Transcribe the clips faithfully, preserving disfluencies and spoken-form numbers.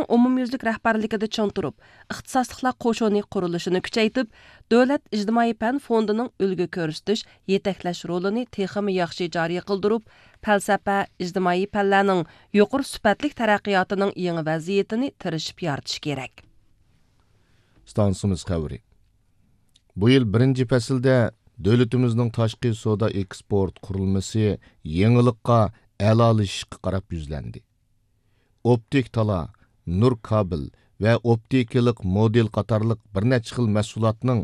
ئومۇميۈزلۈك رەھبەرلىكىدە چىڭ تۇرۇپ، ئىختىساسلىقلار قوشۇنى قۇرۇلۇشىنى كۈچەيتىپ، دۆلەت ئىجتىمائىي پەن فوندىنىڭ ئۈلگە كۆرسىتىش، يېتەكلەش رولىنى تېخىمۇ ياخشى جارى قىلدۇرۇپ، پەلسەپە، ئىجتىمائىي پەنلەرنىڭ يۇقىرى سۈپەتلىك تەرەققىياتىنىڭ يېڭى ۋەزىيىتىنى تىرىشىپ يارىتىش كېرەك. ئىستانسىمىز خەۋىرى. بۇ يىل بىرىنچى پەسىلدە دۆلىتىمىزنىڭ تاشقى سودا ئېكسپورت قۇرۇلمىسى يېڭىلىققا، ئەلالىشىشقا قاراپ يۈزلەندى. ئوپتىك تالا، نۇر كابېل ۋە ئوپتىكىلىق مودېل قاتارلىق بىر نەچچە خىل مەھسۇلاتنىڭ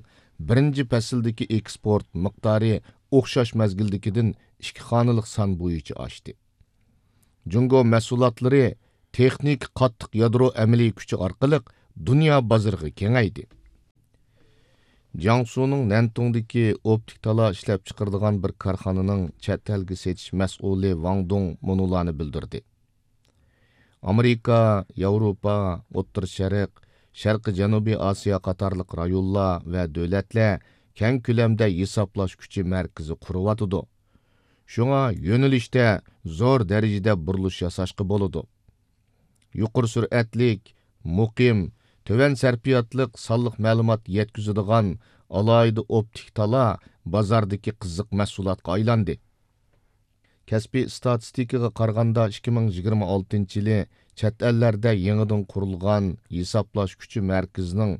بىرىنچى پەسىلدىكى ئېكسپورت مىقدارى ئوخشاش مەزگىلدىكىدىن ئىككى خانىلىق سان بويىچە ئاشتى. جۇڭگو مەھسۇلاتلىرى تېخنىكا قاتتىق يادرو ئەمەلىي كۈچى ئارقىلىق دۇنيا بازىرىغا كېڭەيدى. جياڭسۇنىڭ نەنتۇڭدىكى ئوپتىك تالا ئىشلەپچىقىرىدىغان بىر كارخانىنىڭ چەت ئەلگە سېتىش مەسئۇلى ۋاڭ دۇڭ مۇنۇلارنى بىلدۈردى: ئامېرىكا، ياۋروپا، ئوتتۇرا شەرق، شەرقىي جەنۇبىي ئاسىيا قاتارلىق رايونلار ۋە دۆلەتلەر كەڭ كۆلەمدە ھېسابلاش كۈچى مەركىزى قۇرۇۋاتىدۇ. شۇڭا يۆنىلىشتە زور دەرىجىدە بۇرۇلۇش ياساشقا بولىدۇ. يۇقىرى سۈرئەتلىك، مۇقىم، تۆۋەن سەرپىياتلىق سانلىق مەلۇمات يەتكۈزىدىغان ئالاھىدە ئوپتىك تالا بازاردىكى قىزىق مەھسۇلاتقا ئايلاندى. كەسپىي ئىستاتىستىكىغا قارىغاندا، ئىككى مىڭ يىگىرمە ئالتىنچى يىلى چەت ئەللەردە يېڭىدىن قۇرۇلغان ھېسابلاش كۈچى مەركىزىنىڭ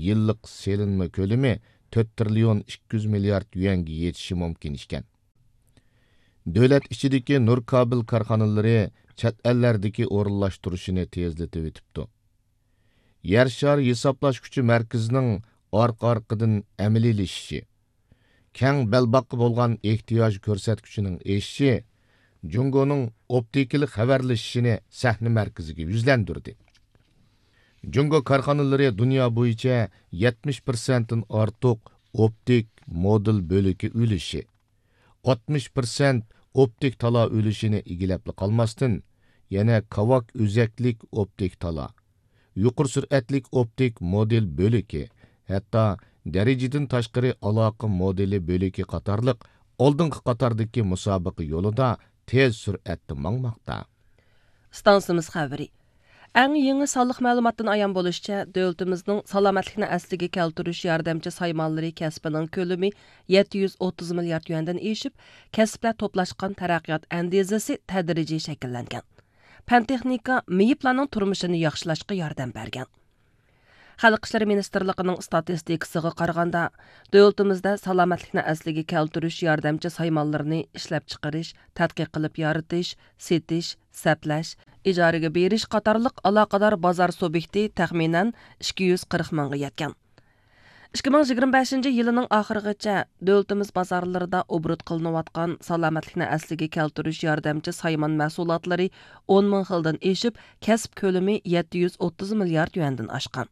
يىللىق سېلىنما كۆلىمى تۆت تىرىليون ئىككى يۈز مىليارد يۈەنگە يېتىشى مۇمكىن ئىكەن. دۆلەت ئىچىدىكى نۇر كابېل كارخانىلىرى چەت ئەللەردىكى ئورۇنلاشتۇرۇشىنى تېزلىتىۋېتىپتۇ. يەر شارى ھېسابلاش كۈچى مەركىزىنىڭ ئارقا-ئارقىدىن ئەمەلىيلىشىشى، كەڭ بەلباغقا بولغان ئېھتىياج كۆرسەتكۈچىنىڭ ئېشىشى جۇڭگونىڭ ئوپتىكىلىق خەۋەرلىشىشىنى سەھنە مەركىزىگە يۈزلەندۈردى. جۇڭگو كارخانىلىرى دۇنيا بويىچە يەتمىش پىرسەنتتىن ئارتۇق ئوپتىك مودېل بۆلىكى ئۈلۈشى، ئاتمىش پىرسەنت ئوپتىك تالا ئۈلۈشىنى ئىگىلەپلا قالماستىن، يەنە كاۋاك ئۆزەكلىك ئوپتىك تالا، يۇقىرى سۈرئەتلىك ئوپتىك مودېل بۆلىكى، ھەتتا دەرىجىدىن تاشقىرى ئالاقە مودېلى بۆلىكى قاتارلىق ئالدىنقى قاتاردىكى مۇسابىقە يولىدا تېز سۈرئەتتە ماڭماقتا. ئىستانسىمىز خەۋىرى. ئەڭ يېڭى سانلىق مەلۇماتتىن ئايان بولۇشىچە، دۆلىتىمىزنىڭ سالامەتلىكنى ئەسلىگە كەلتۈرۈش ياردەمچى سايمانلىرى كەسپىنىڭ كۆلىمى يەتتە يۈز ئوتتۇز مىليارد يۈەندىن ئېشىپ، كەسىپلەر توپلاشقان تەرەققىيات ئەندىزىسى تەدرىجىي شەكىللەنگەن. پەن-تېخنىكا مېيىپلارنىڭ تۇرمۇشىنى ياخشىلاشقا ياردەم بەرگەن. خەلق ئىشلىرى مىنىستىرلىقىنىڭ ئىستاتىستىكىسىغا قارىغاندا، دۆلىتىمىزدە سالامەتلىكنى ئەسلىگە كەلتۈرۈش ياردەمچى سايمانلىرىنى ئىشلەپچىقىرىش، تەتقىق قىلىپ يارىتىش، سېتىش، سەپلەش، ئىجارىگە بېرىش قاتارلىق ئالاقىدار بازار سۇبيېكتى تەخمىنەن ئىككى يۈز قىرىق مىڭغا يەتكەن. ئىككى مىڭ يىگىرمە بەشىنچى يىلىنىڭ ئاخىرىغىچە دۆلىتىمىز بازارلىرىدا ئوبوروت قىلىنىۋاتقان سالامەتلىكنى ئەسلىگە كەلتۈرۈش ياردەمچى سايمان مەھسۇلاتلىرى ئون مىڭ خىلدىن ئېشىپ، كەسىپ كۆلىمى يەتتە يۈز ئوتتۇز مىليارد يۈەندىن ئاشقان.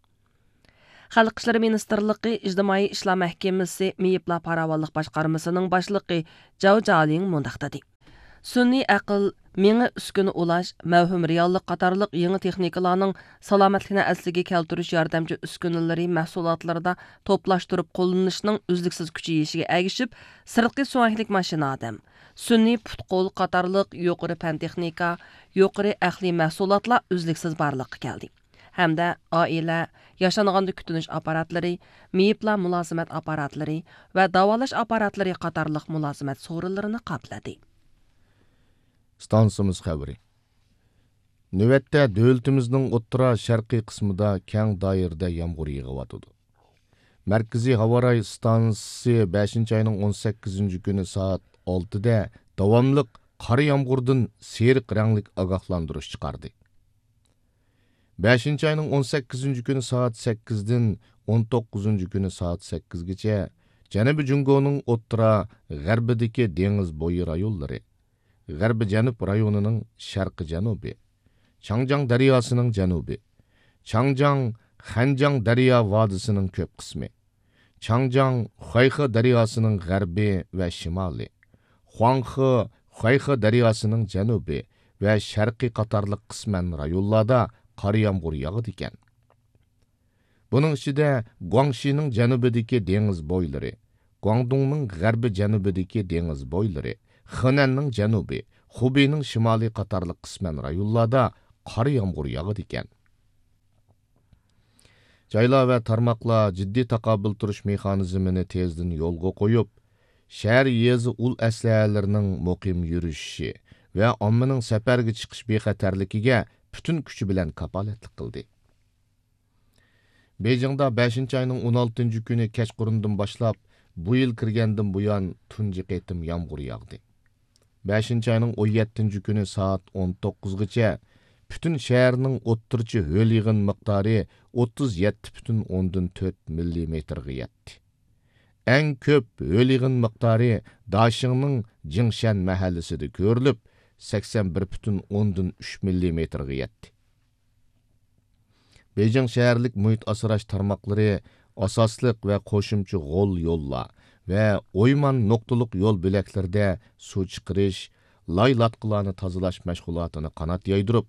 خەلق ئىشلىرى مىنىستىرلىقى ئىجتىمائىي ئىشلار مەھكىمىسى مېيىپلار پاراۋانلىق باشقارمىسىنىڭ باشلىقى جاۋ جالىڭ مۇنداق دېدى: سۈنئىي ئەقىل، مېڭە ئۈسكۈنە ئۇلاش، مەۋھۇم رېئاللىق قاتارلىق يېڭى تېخنىكىلارنىڭ سالامەتلىكنى ئەسلىگە كەلتۈرۈش ياردەمچى ئۈسكۈنىلىرى مەھسۇلاتلىرىدا توپلاشتۇرۇپ قوللىنىشنىڭ ئۈزلۈكسىز كۈچىيىشىگە ئەگىشىپ، سىرتقى سۆڭەكلىك ماشىنا ئادەم، سۈنئىي پۇت-قول قاتارلىق يۇقىرى پەن-تېخنىكا، يۇقىرى ئەقلىي مەھسۇلاتلار ئۈزلۈكسىز بارلىققا كەلدى. ھەمدە ئائىلە، ياشانغاندا كۈتۈنۈش ئاپپاراتلىرى، مېيىپلار مۇلازىمەت ئاپپاراتلىرى ۋە داۋالاش ئاپپاراتلىرى قاتارلىق مۇلازىمەت سورۇنلىرىنى قاپلىدى. ئىستانسىمىز خەۋىرى. نۆۋەتتە دۆلىتىمىزنىڭ ئوتتۇرا شەرقىي قىسمىدا كەڭ دائىرىدە يامغۇر يېغىۋاتىدۇ. مەركىزىي ھاۋا رايى ئىستانسىسى بەشىنچى ئاينىڭ ئون سەككىزىنچى كۈنى سائەت ئالتىدە داۋاملىق قارا يامغۇردىن سېرىق رەڭلىك ئاگاھلاندۇرۇش چىقاردى. بەشىنچى ئاينىڭ ئون سەككىزىنچى كۈنى سائەت سەككىزدىن ئون توققۇزىنچى كۈنى سائەت سەككىزگىچە جەنۇبىي جۇڭگونىڭ ئوتتۇرا، غەربىدىكى دېڭىز بويى رايونلىرى، غەربىي جەنۇب رايونىنىڭ شەرقىي جەنۇبى، چاڭجياڭ دەرياسىنىڭ جەنۇبى، چاڭجياڭ، خەنجياڭ دەريا ۋادىسىنىڭ كۆپ قىسمى، چاڭجياڭ، خۇەيخې دەرياسىنىڭ غەربى ۋە شىمالى، خۇاڭخې، خۇەيخې دەرياسىنىڭ جەنۇبى ۋە شەرقى قاتارلىق قىسمەن رايونلاردا قارا يامغۇر ياغىدىكەن. بۇنىڭ ئىچىدە گۇاڭشىنىڭ جەنۇبىدىكى دېڭىز بويلىرى، گۇاڭدۇڭنىڭ غەربىي جەنۇبىدىكى دېڭىز بويلىرى، خېنەننىڭ جەنۇبى، خۇبېينىڭ شىمالى قاتارلىق قىسمەن رايونلاردا قارا يامغۇر ياغىدىكەن. جايلار ۋە تارماقلار جىددىي تاقابىل تۇرۇش مېخانىزمىنى تېزدىن يولغا قويۇپ، شەھەر، يېزا ئۇل ئەسلىھەلىرىنىڭ مۇقىم يۈرۈشۈشى ۋە ئاممىنىڭ سەپەرگە چىقىش بىخەتەرلىكىگە پۈتۈن كۈچى بىلەن كاپالەتلىك قىلدى. بېيجىڭدا بەشىنچى ئاينىڭ ئون ئالتىنچى كۈنى كەچقۇرۇندىن باشلاپ، بۇ يىل كىرگەندىن بۇيان تۇنجى قېتىم يامغۇر ياغدى. بەشىنچى ئاينىڭ ئون يەتتىنچى كۈنى سائەت ئون توققۇزغىچە پۈتۈن شەھەرنىڭ ئوتتۇرىچە ھۆل يېغىن مىقدارى ئوتتۇز يەتتە پۈتۈن ئوندىن تۆت مىللىمېتىرغا يەتتى. ئەڭ كۆپ ھۆل يېغىن مىقدارى داشىڭنىڭ جىڭشەن مەھەللىسىدە كۆرۈلۈپ، سەكسەن بىر پۈتۈن ئوندىن ئۈچ مىللىمېتىرغا يەتتى. بېيجىڭ شەھەرلىك مۇھىت ئاسراش تارماقلىرى ئاساسلىق ۋە قوشۇمچە غول يوللار ۋە ئويمان نۇقتىلىق يول بۆلەكلىرىدە سۇ چىقىرىش، لاي لاتقىلارنى تازىلاش مەشغۇلاتىنى قانات يايدۇرۇپ،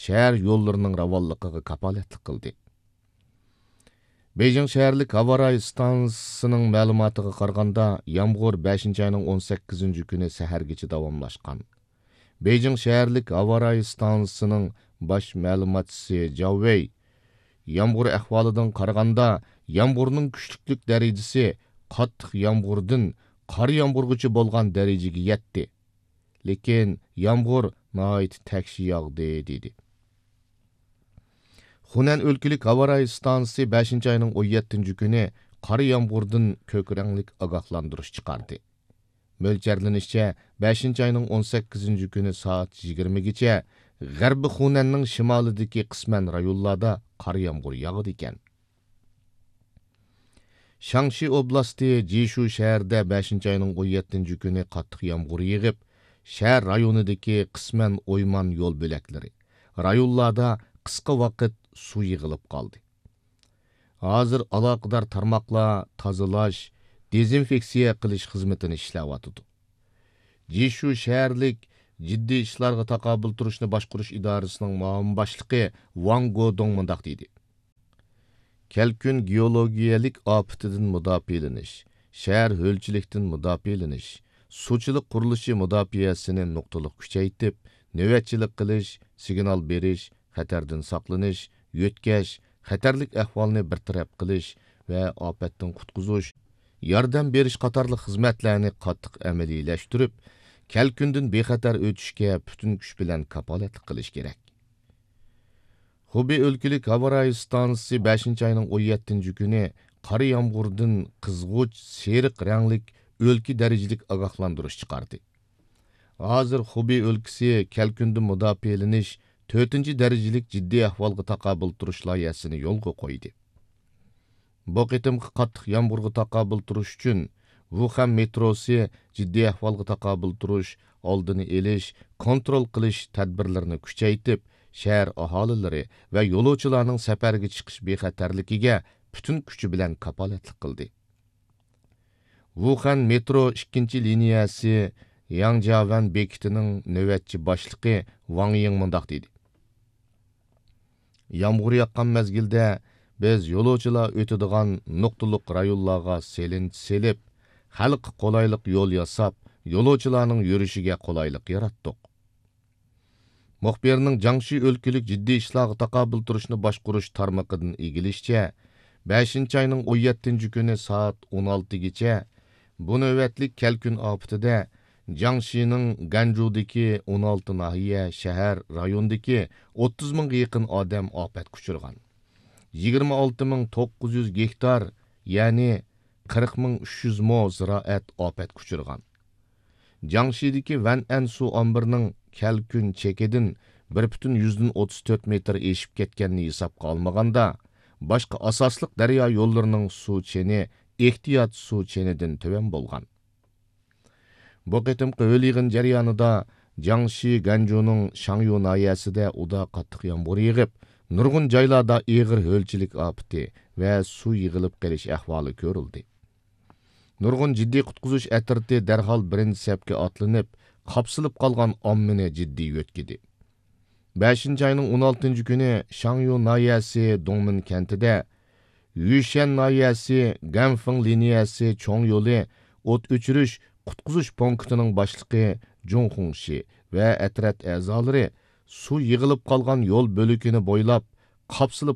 شەھەر يوللىرىنىڭ راۋانلىقىغا كاپالەتلىك قىلدى. بېيجىڭ شەھەرلىك ھاۋا رايى ئىستانسىسىنىڭ مەلۇماتىغا قارىغاندا، يامغۇر بەشىنچى ئاينىڭ ئون سەككىزىنچى كۈنى سەھەرگىچە داۋاملاشقان. بېيجىڭ شەھەرلىك ھاۋا رايى ئىستانسىسىنىڭ باش مەلۇماتچىسى جاۋ ۋېي، يامغۇر ئەھۋالىدىن قارىغاندا، يامغۇرنىڭ كۈچلۈكلۈك دەرىجىسى قاتتىق يامغۇردىن قار يامغۇرغىچە بولغان دەرىجىگە يەتتى. لېكىن يامغۇر ناھايىتى تەكشى ياغدى، دېدى. خۇنەن ئۆلكىلىك ھاۋا رايى ئىستانسىسى بەشىنچى ئاينىڭ ئون يەتتىنچى كۈنى قارا يامغۇردىن كۆك رەڭلىك ئاگاھلاندۇرۇش چىقاردى. مۆلچەرلىنىشىچە، بەشىنچى ئاينىڭ ئون سەككىزىنچى كۈنى سائەت يىگىرمىگىچە غەربىي خۇنەننىڭ شىمالىدىكى قىسمەن رايونلاردا قارا يامغۇر ياغىدىكەن. شاڭشى ئوبلاستى جىشۇ شەھىرىدە بەشىنچى ئاينىڭ ئون يەتتىنچى كۈنى قاتتىق يامغۇر يېغىپ، شەھەر رايونىدىكى قىسمەن ئويمان يول بۆلەكلىرى، رايونلاردا قىسقا ۋاقىت سۇ يىغىلىپ قالدى. ھازىر ئالاقىدار تارماقلار تازىلاش، دېزىنفېكسىيە قىلىش خىزمىتىنى ئىشلەۋاتىدۇ. جىشۇ شەھەرلىك جىددىي ئىشلارغا تاقابىل تۇرۇشنى باشقۇرۇش ئىدارىسىنىڭ مۇئاۋىن باشلىقى ۋاڭ گودۇڭ مۇنداق دېدى: كەلكۈن گېئولوگىيەلىك ئاپىتىدىن مۇداپىئەلىنىش، شەھەر ھۆلچىلىكتىن مۇداپىئەلىنىش، سۇچىلىق قۇرۇلۇشى مۇداپىئەسىنى نۇقتىلىق كۈچەيتىپ، نۆۋەتچىلىك قىلىش، سىگنال بېرىش، خەتەردىن ساقلىنىش، يۆتكەش، خەتەرلىك ئەھۋالنى بىر تەرەپ قىلىش ۋە ئاپەتتىن قۇتقۇزۇش، ياردەم بېرىش قاتارلىق خىزمەتلەرنى قاتتىق ئەمەلىيلەشتۈرۈپ، كەلكۈندىن بىخەتەر ئۆتۈشكە پۈتۈن كۈچ بىلەن كاپالەتلىك قىلىش كېرەك. خۇبېي ئۆلكىلىك ھاۋا رايى ئىستانسىسى بەشىنچى ئاينىڭ ئون يەتتىنچى كۈنى قارا يامغۇردىن قىزغۇچ سېرىق رەڭلىك ئۆلكە دەرىجىلىك ئاگاھلاندۇرۇش چىقاردى. ھازىر خۇبېي ئۆلكىسى كەلكۈندىن مۇداپىئەلىنىش تۆتىنچى دەرىجىلىك جىددىي ئەھۋالغا تاقابىل تۇرۇش لايىھەسىنى يولغا قويدى. بۇ قېتىمقى قاتتىق يامغۇرغا تاقابىل تۇرۇش ئۈچۈن، ۋۇخەن مېتروسى جىددىي ئەھۋالغا تاقابىل تۇرۇش، ئالدىنى ئېلىش، كونترول قىلىش تەدبىرلىرىنى كۈچەيتىپ، شەھەر ئاھالىلىرى ۋە يولۇچىلارنىڭ سەپەرگە چىقىش بىخەتەرلىكىگە پۈتۈن كۈچى بىلەن كاپالەتلىك قىلدى. ۋۇخەن مېترو ئىككىنچى لىنىيەسى ياڭجياۋەن بېكىتىنىڭ نۆۋەتچى باشلىقى ۋاڭ يىڭ مۇنداق دېدى: يامغۇر ياغقان مەزگىلدە بىز يولۇچىلار ئۆتىدىغان نۇقتىلىق رايونلارغا سېلىنچا سېلىپ، خەلققە قولايلىق يول ياساپ، يولۇچىلارنىڭ يۈرۈشىگە قولايلىق ياراتتۇق. مۇخبىرنىڭ جياڭشى ئۆلكىلىك جىددىي ئىشلارغا تاقابىل تۇرۇشنى باشقۇرۇش تارمىقىدىن ئىگىلىشىچە، بەشىنچى ئاينىڭ ئون يەتتىنچى كۈنى سائەت ئون ئالتىگىچە بۇ نۆۋەتلىك كەلكۈن ئاپىتىدە جياڭشىنىڭ گەنجۇدىكى ئون ئالتە ناھىيە، شەھەر، رايوندىكى ئوتتۇز مىڭغا يېقىن ئادەم ئاپەتكە ئۇچرىغان. يىگىرمە ئالتە مىڭ توققۇز يۈز گېكتار، يەنى قىرىق مىڭ ئۈچ يۈز مو زىرائەت ئاپەتكە ئۇچرىغان. جياڭشىدىكى ۋەنئەن سۇ ئامبىرىنىڭ كەلكۈن چېكىدىن بىر پۈتۈن يۈزدىن ئوتتۇز تۆت مېتىر ئېشىپ كەتكەننى ھېسابقا ئالمىغاندا، باشقا ئاساسلىق دەريا يوللىرىنىڭ سۇ چېنى ئېھتىيات سۇ چېنىدىن تۆۋەن بولغان. بۇ قېتىمقى ھۆل يېغىن جەريانىدا جياڭشى گەنجۇنىڭ شاڭيۇ ناھىيەسىدە ئۇدا قاتتىق يامغۇر يېغىپ، نۇرغۇن جايلاردا ئېغىر ھۆلچىلىك ئاپىتى ۋە سۇ يىغىلىپ قېلىش ئەھۋالى كۆرۈلدى. نۇرغۇن جىددىي قۇتقۇزۇش ئەترىتى دەرھال بىرىنچى سەپكە ئاتلىنىپ، قاپسىلىپ قالغان ئاممىنى جىددىي يۆتكىدى. بەشىنچى ئاينىڭ ئون ئالتىنچى كۈنى شاڭيۇ ناھىيەسى دۇڭمىن كەنتىدە، يۈشەن ناھىيەسى گەنفېڭ لىنىيەسى چوڭ يولى ئوت ئۆچۈرۈش قۇتقۇزۇش پونكىتىنىڭ باشلىقى جۇڭ خۇڭشى ۋە ئەترەت ئەزالىرى سۇ يىغىلىپ قالغان يول بۆلىكىنى بويلاپ، قاپسىلىپ